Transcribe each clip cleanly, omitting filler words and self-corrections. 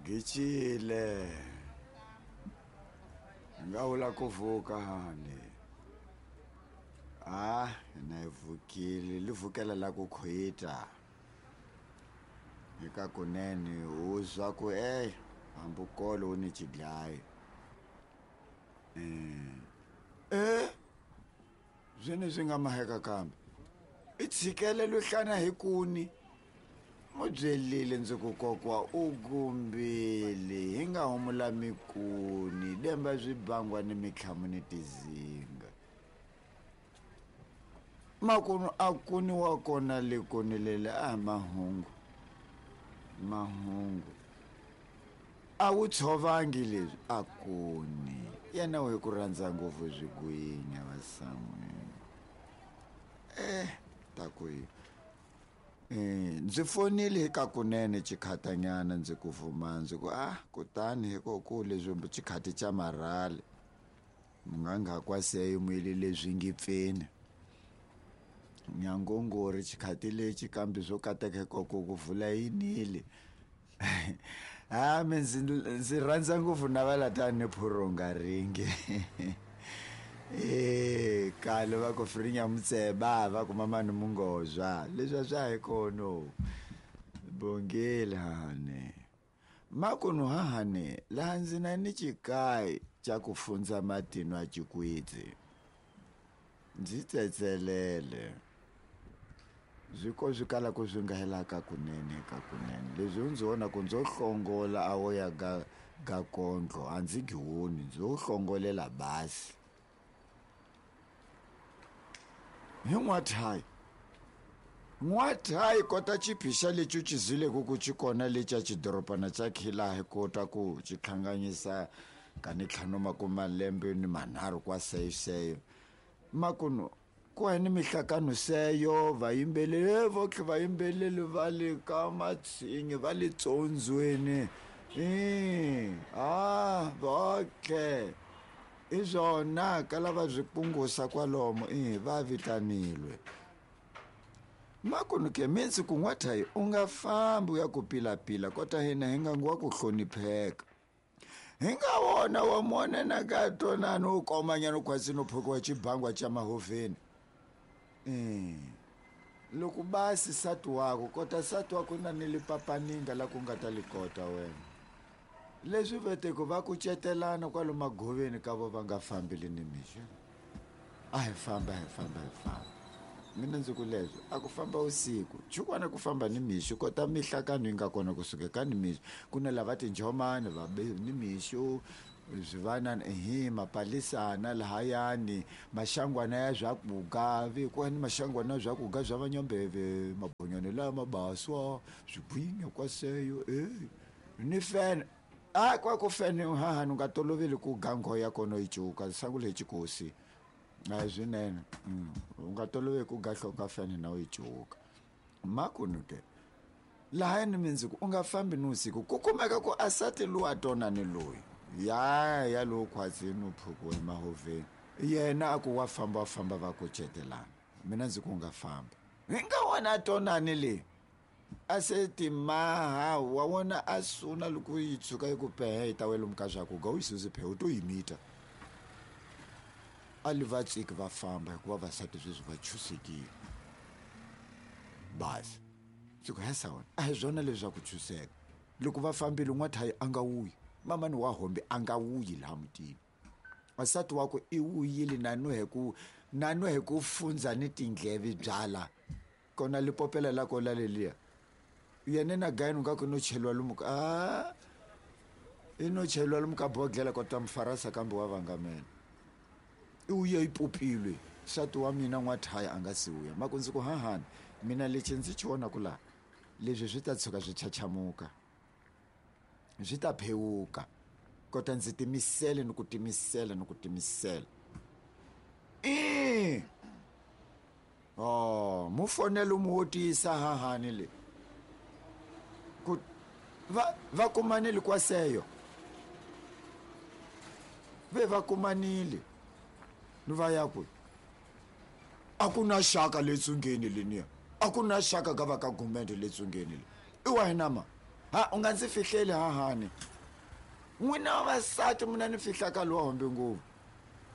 Gicile nga vula ku vuka hani a na yi vukile li vukela la ku khwita eka kunene u zwa ku e hambi kolo u ni xidlayi e zwene swi nga maheka kambe i tshikele luhlana hi kuni mu byelile ndzi ku kokwa u gumbile hi nga humula mikuni demba swibangwa ni mitlhamu ni tizinga makunu a kuni wa kona le kuni lele a mahungu mahungu a wu tshovangi leswi a kuni yena u hi ku rhandza ngopfu swigwinya vasan'wini eh ta ku yi Eh, ndzi fonile hi kakunene xikhatanyana ndzi ku vuma ndzi ku ah kutani hikoku leswi xikhati xa marhali munganga kwaseyo muyile leswi ngi pfeni nyangongori xikhati lexi kambe swo kateka hikoko ku vula yinile ha mi ndzi ndzi rhandza ngopfu na va latani phuronga ringi e kale va ku frinya mutseba va ku mamani mungozwa leswi a swa hi kono bongile hane makunu hahane laha ndzi na ni xikayi xa ku fundza matino a xikwitsi ndzi tsetselele swi ko swi kalaka swi nga helaka kunene ka kunene leswi u ndzi vona ku ndzo hlongola a wo ya ga ga kondlo a ndzi giwoni ndzi wo hlongolela basi hi n'wathayi n'wathayi kota xiphixa lexi u xizileke ku xi kona lexa xidorobana xa khilahi kota ku xi hlanganyisa ka ni ntlhanu makume malembe ni manharhu kwa seyoseyo makunu ku ni mihlakano seyo vayimbeleri votlhe vayimbeleri va le ka matshinyi va le tsondzweni i a votlhe i swona ka lava swi pungusa kwalomo i va vitanilwe makunu ke mitsi ku n'wathayi u nga fambi u ya ku pilapila kota hina hi nga nguwa ku hlonipheka hi nga wona wa mona na ka tonani u komanyana u khwatsi no phokiwa xibangwa xa mahoveni loko basi sati wako kota sati wako na ni lipapaninga la ku nga ta li kota wena leswi veteko va kucetelana kwalo magoveni ka vo va nga fambili ni mixo a hi famba hi famba hi famba mina ndzi ku leswo a ku famba vusiku chukwana ku famba ni mixo kota mihlakano yi nga kona kusuka ka ni mixo ku na lava tinjomani va ni mixo swivanana ehe mapalisana lahayani maxangwana ya swakuga vekiwa ni maxangwana ya swakuga swa vanyombeve mabonyane lama baswa swigwinya kwaseyo e ni fene a kwa ku fene hahani u nga toloveli ku gangho ya kona yi cuka sangu leyi xikosi a hi swinene u nga toloveli ku gahloka fene na u yi cuka makunu ke lahayani mindzuku u nga fambi ni usiku ku kumeka ku asati luwa tona ni loyi ya ya lowu khwatsini u phukiwe emahoveni yena a ku wa famba wa famba va kucetelana mina ndzi ku u nga famba hi nga wona tonani leyi a se timaha wa wona a suna loko yi tshuka yi ku pehe yi ta wela muka swa ku ga u yi susi phe u to yi mita a li va tsiki va famba hikuva vasati sweswi va chusekile basi ndzi ku hesa wena a hi swona leswaku chuseka loko va fambile n'wathayi a nga wuyi mamani wa hombe a nga wuyi laha mutini wasati wakwe i wuyile na nwe hi ku fundza ni tindleve byala kona lipopela la kola leliya yena na gayini nga ku no cheliwa lomu ka a i no cheliwa lomu ka bodlela kota mufarasa kambe wa vangamela i wuye yi popilwe nsati wa mina n'wathaya a nga si wuya maku ndzi ku hahani mina lexi ndzi xi vonaku laha leswi swi ta tshuka swi chachamuka swi ta phewuka kota ndzi timisele ni ku timisela ni ku timisela i oh mu fonela u mu wotisa hahani le ku va va kumanile kwaseyo ve va kumanile ni va ya kwi a ku na xaka le tsungeni leniya a ku na xaka ka va ka gumende le tsungeni le i wa hina ma Ha u nga ndzi fihleli hahani. N'wina vavasati mina ni fihlaka lowa hombe ngopfu.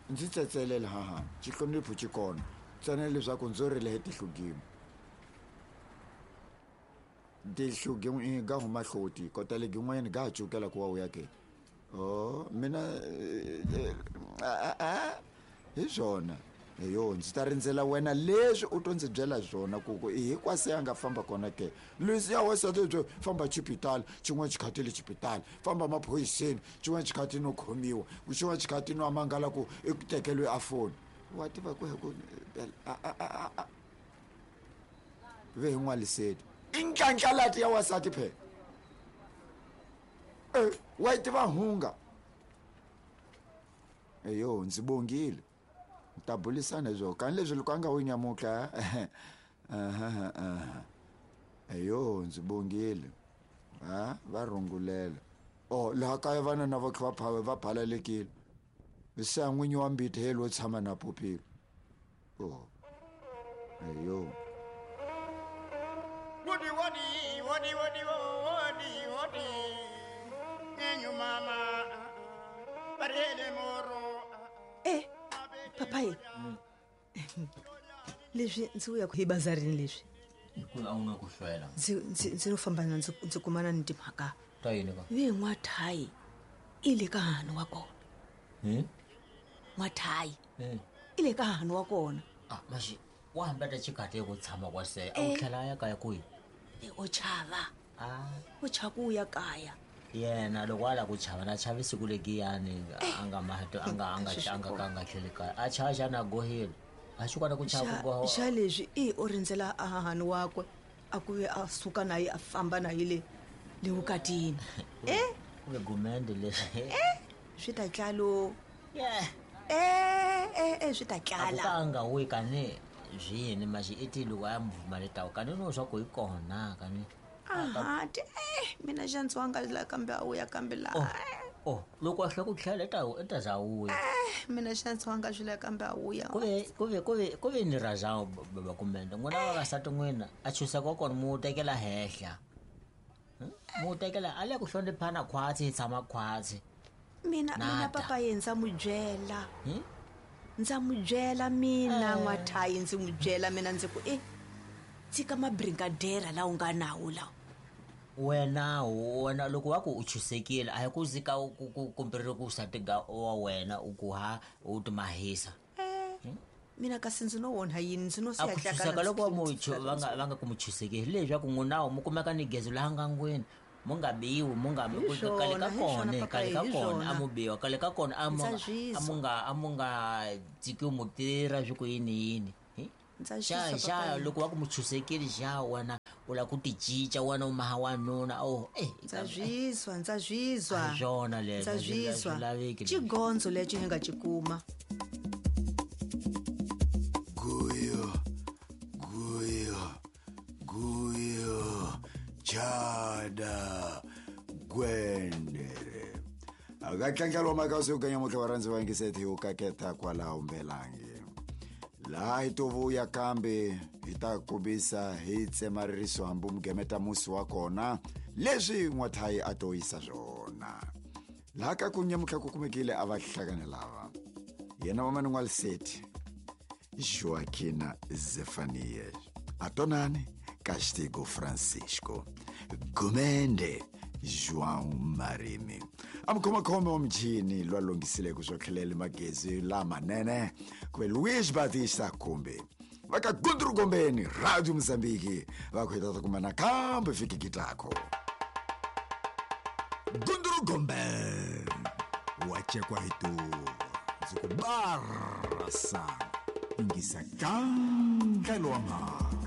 Ndzi tsetselela hahani. Xihlonipho xi kona. Ntsena leswaku ndzo rila hi tihlo-gimo. Tihlo-gimo ga huma hloti kota legin'wanyana ga ha cukela ku wa uya ke. Oh, mina hi swona. Eyo ndzi ta rindzela wena leswi u to ndzi byela swona ku ku i hinkwase a nga famba kona ke. Leswiya wansati byo famba xipitali xin'wana xikhathi le xipitali, famba maphoyiseni xin'wana xikhathi no khomiwa, xin'wana xikhathi no mangala ku i ku tekeriwe a foni. Wa tiva ku ku a ve hi n'waliseti. I ndlandlalati ya wansati phela. Wa yi tiva hunga. Eyo ndzi bongile. Ta bulisana hi swona. Kani leswi loko a nga wu nyamuka. Eyo ndzi bongile. Ha va rungulela. Oh laha kaya vana na va kha va va phalalekile. Se a n'winyi wa mbiti he lo tshama na popile. Oh. Eyo. Wodi wodi wodi wodi wodi wodi. Ngenyu mama. Barele moro. Papa ye. Leswi ndzi vuya hi bazarini leswi. Hikuva a wu nga ku hlwela. Ndzi no famba na ndzi kumana ni timhaka. Ta yini ka? Ve n'wathayi i le ka hahani wa kona. N'wathayi i le ka hahani wa kona. Ah, maxi wa hambeta xikhathi ku tshama kwa se a wu tlhela a ya kaya kwihi? O chava. O chava ku ya kaya. Yena loko a lava ku chava na chavi siku legiyani a nga mato a nga a nga a nga ka nga tlheli kaya. A chava xana a gohile. A xi kona ku chava ku goha. Xa leswi i o rindzela a hahani wakwe a ku ve a suka na ye a famba na ye le le vukatini. Ku ve gumende leswi. Swi ta tlalo. Swi ta tlala. A ku ka a nga wi kani zwini maxi i ti loko a ya muvuma le tawu kani no swa ku hi kona kani. Aha, ti mina xa ndzi wanga la kambe a wuya kambe la. Oh, loko a hlwa ku tlhela i ta za wuya. Mina xa ndzi wanga swi la kambe a wuya. Ku ve ni razao baba kumende n'wina vavasati n'wina a chusa kwa kona mu tekela hehla. Mu tekela a le ku hloniphana khwatsi hi tshama khwatsi. Mina papa ye ndza n'wi byela. Ndza n'wi byela mina n'wathayi ndzi n'wi byela mina ndzi ku tshika mabrigadera lawa u nga nawo lawa. Wena wena loko wa ku u chusekile a hi ku zika ku kumbe ku satiga wa wena u ku ha u timahisa. Mina kasi ndzi no onha yini ndzi no siya tlaka loko va nga va nga ku mu chusekile leswaku n'wina mu kumeka ni gezo laha ngangwini. Mu nga biwi mu nga kale ka kona kale ka kona a mu biwa kale ka kona a mu nga tshikiwi mu tirha swi ku yini yini. Xa xa loko wa ku mu chusekile xa wena u lava ku ti cinca wena u maha wanuna ndza zwizwa ndza zwizwa swona leswo ndza zwizwa xigondzo lexi hi nga xi kuma. Guyo guyo guyo chada gwendere. Akatlangelo makasi u kanya mutlha wa rhandzi va yingiseti u kaketa kwalaho mbelangi. Laha hi to vuya kambe hi ta kombisa hi tsema ririso hambi mugemeta musi wa kona leswi n'wathayi a to yisa swona. Laha ka ku nyamutlha ku kumekile a va hlakane lava. Yena wa Man'waliseti Joaquina Zefanias, Atonani Castigo Francisco, Gumende João Marimi. Amkhomakhome wa michini lwa lunghisileke swo tlhelela magezi lamanene kuve Luis Batista Kumbi. Va ka Gundru Gombeni, Radio Mozambique, va ku hi ta kuma nakambe vhiki gitako. Gundru Gombeni, wa cekwa hi tuva, ndzi ku barasa, yingisa kandlelo wa mhaka.